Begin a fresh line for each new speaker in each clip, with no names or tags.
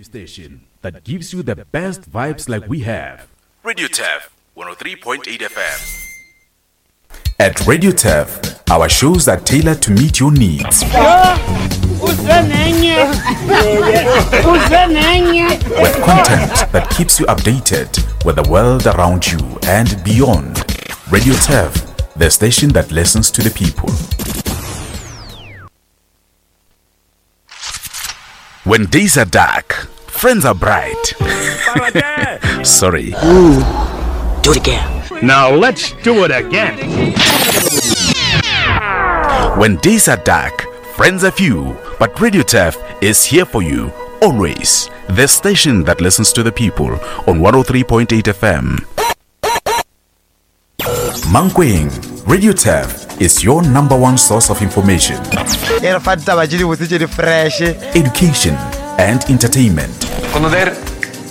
Station that gives you the best vibes like we have. Radio Turf 103.8 FM. At Radio Turf, our shows are tailored to meet your needs. With content that keeps you updated with the world around you and beyond. Radio Turf, the station that listens to the people. When days are dark, friends are bright. Sorry.
Do it again.
Now let's do it again.
When days are dark, friends are few, but Radio Turf is here for you always. The station that listens to the people on 103.8 FM. Mankweng, Radio Turf is your number one source of information.
E re fa ditaba tše dibotse tše di fresh.
Education and entertainment.
Conocer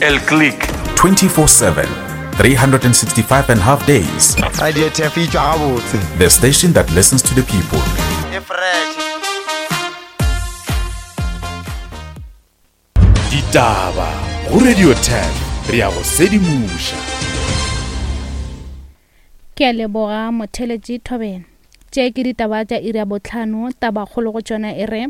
el click.
24/7, 365 and a half days.
Radio Turf e tšwa gabotse.
The station that listens to the people.
E fresh.
Ditaba go Radio 10 re ya go sedimoša.
Ke a leboga motheletši Thobela. Tše ke ditaba tša iri ya bohlano, tabakgolo go tšona e re,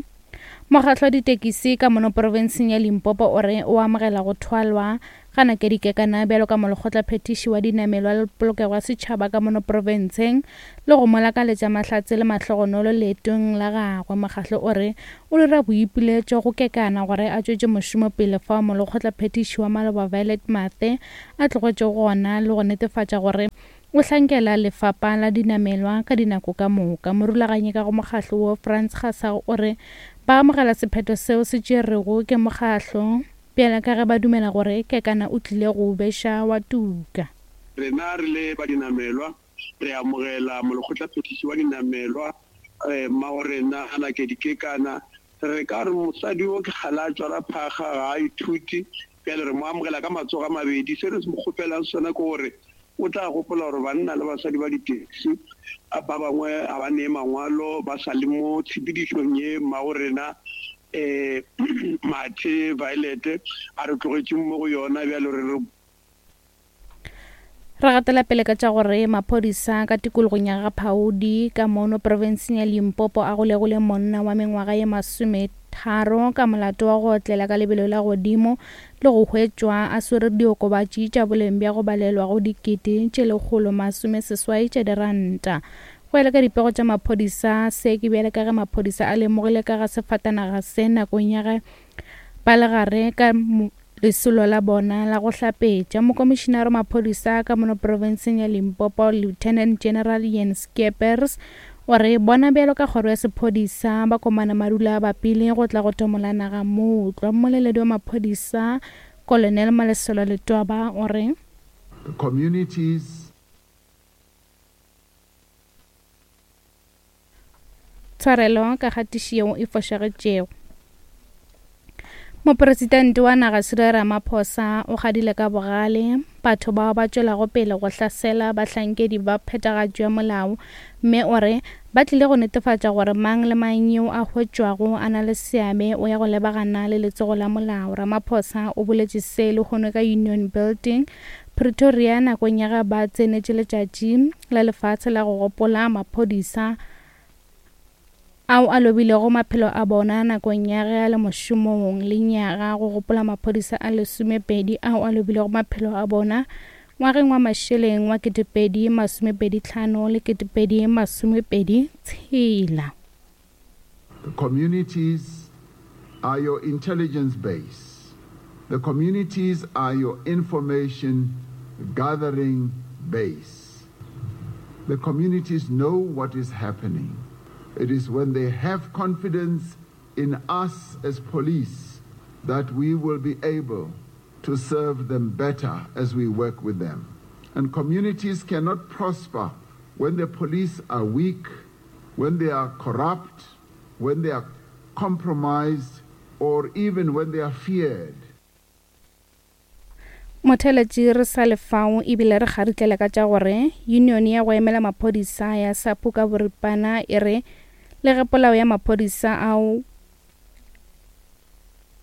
Mokgatlo wa ditekisi ka mono profenseng ya Limpopo o re o amogela go thwalwa ga Nakedi Kekana bjalo ka molekgotlaphethiši wa dinamelwa le polokego ya setšhaba ka mono profenseng le go mo lakaletša mahlatse le mahlogonolo leetong la gagwe. Mokgatlo o re o dira boipiletšo go Kekana gore a tšwetše mošomo pele fao molekgotlaphethiši wa maloba Violet Mathe a tlogetšego gona le go netefatša gore o hlankela lefapa la dinamelwa ka dinako ka moka. Morulaganyi ka go mokgahlo wo Frans Gasau o re ba amogela sephetho seo se tšerwego ke mokgahlo bjale ka ge ba dumela gore Kekana o tlile go beša wa tuka.
Rena re le ba dinamelwa re amogela molekgotlaphethiši wa dinamelwa mmago rena Nakedi Kekana. Re ka re mosadi wo ke kgale a tšwara phakga, ga a ithute. Bjale re mo amogela ka matsogo a mabedi. Se re mo kgopelang sona ke gore o tla gopola gore banna le basadi ba di-taxi ba bangwe ga ba nee mangwalo, ba sa le mo tshepedišong ye mmago rena um Mathe Violet a re tlogetšeng mo go yona. Bjale re re.
Re gatela pele ka tša gore maphodisa ka tikologong ya Ga-Phaudi ka mono profenseng ya Limpopo a golegile monna wa mengwaga ye masometharo ka molato wa go otlela ka lebelo la godimo le go hwetšwa a swere diokobatši tša boleng bja go balelwa go dikete tše 186 tša diranta. Go ya le ka dipego tša maphodisa, se ke bjale ka ge maphodisa a lemogile ka ga sefatanaga se nakong ya ge ba le gare ka Lesolo la bona la go hlapetša. Mokomišinare wa maphodisa ka mono profenseng ya Limpopo, Lieutenant General Ian Skeepers, o re bona bjalo ka kgoro ya sephodisa ba komana madula a bapile go tla go tomola naga mootlwa. Mmoleledi wa maphodisa, Colonel Malesela Letwaba, o re.
The communities.
Tshwarelo ka kgatišo yeo e fošagetšego. Mopresidente wa naga Cyril Ramaphosa o kgadile ka bogale batho bao ba tšwelago pele go hlasela bahlankedi ba phethagatšo ya molao mme o re ba tlile go netefatša gore mang le mang yo a hwetšwago a na le seabe o ya go lebagana le letsogo la molao. Ramaphosa o boletše se lehono ka Union Building, Pretoria nakong ya ge ba tsenetše letšatši la lefase la go gopola maphodisa ao a lobilego maphelo a bona nakong ya ge a le mošomong le nyaga go gopola maphodisa a lesomepedi ao a lobilego maphelo a bona ngwageng wa mašeleng wa 2025 le 2026.
The communities are your intelligence base. The communities are your information gathering base. The communities know what is happening. It is when they have confidence in us as police that we will be able to serve them better as we work with them. And communities cannot prosper when the police are weak, when they are corrupt, when they are compromised, or even when they are feared.
Motheeletši re sa le fao ebile re kgarihlela ka tša gore Union ya go emela maphodisa ya SAPU ka boripana e re le ge polao ya maphodisa ao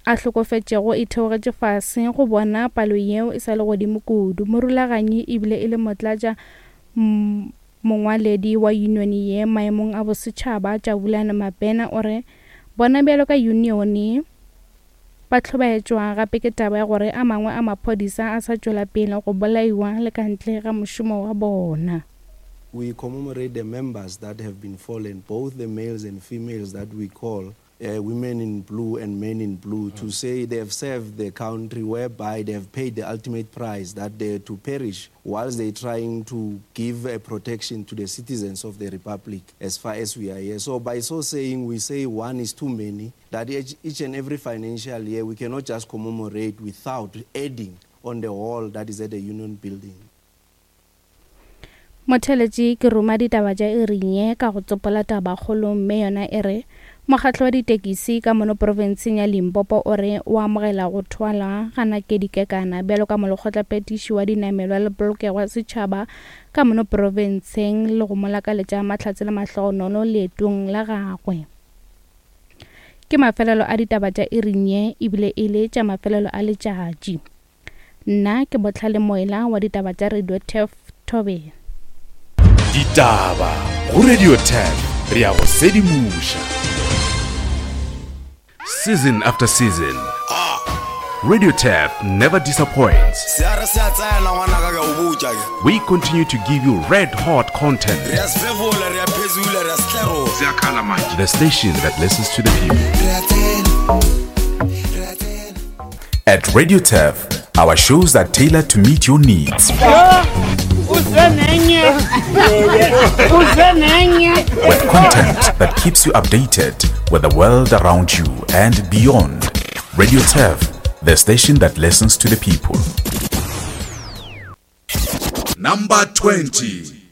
a hlokofetšego e theogetše fase, go bona palo yeo e sa le godimo kudu. Morulaganyi ebile e le motlatša mongwaledi wa yunione ye maemong a bosetšhaba, Jabulani Mabena o re bona bjalo ka yunione ba hlobaetšwa gape ke taba ya gore a mangwe a maphodisa a sa tšwela pele go bolaiwa le ka ntle ga mošomo wa bona.
We commemorate the members that have been fallen, both the males and females that we call uh, women in blue and men in blue, to say they have served the country whereby they have paid the ultimate price, that they to perish whilst they're trying to give a protection to the citizens of the republic as far as we are here. So by so saying, we say one is too many, that each, each and every financial year we cannot just commemorate without adding on the hall that is at the union building.
Motheeletši ke ruma ditaba tša iring ye ka go tsopola tabakgolo mme yona e re, Mokgatlo wa ditekisi ka mono profenseng ya Limpopo o re o amogela go thwalwa ga Nakedi Kekana bjalo ka molekgotlaphethiši wa dinamelwa le polokego ya setšhaba ka mono profenseng le go mo lakaletša mahlatse le mahlogonolo leetong la gagwe. Ke mafelelo a ditaba tša iring ye ebile e le tša mafelelo a letšatši. Nna ke Bohlale Moela wa ditaba tša Radio Turf Thobela.
Ditaba go Radio Turf re a go sedimoša. Season after season, Radio Turf never disappoints.
Se a re se a tsena ngwanaka ke a o botša ke.
We continue to give you red hot content.
Re a sefefola, re a phezula, re a setlerola.
Se a khala manje.
The station that listens to the people.
Re a tsena, re a tsena.
At Radio Turf, our shows are tailored to meet your needs. With content that keeps you updated with the world around you and beyond. Radio Turf, the station that listens to the people.
Number 20.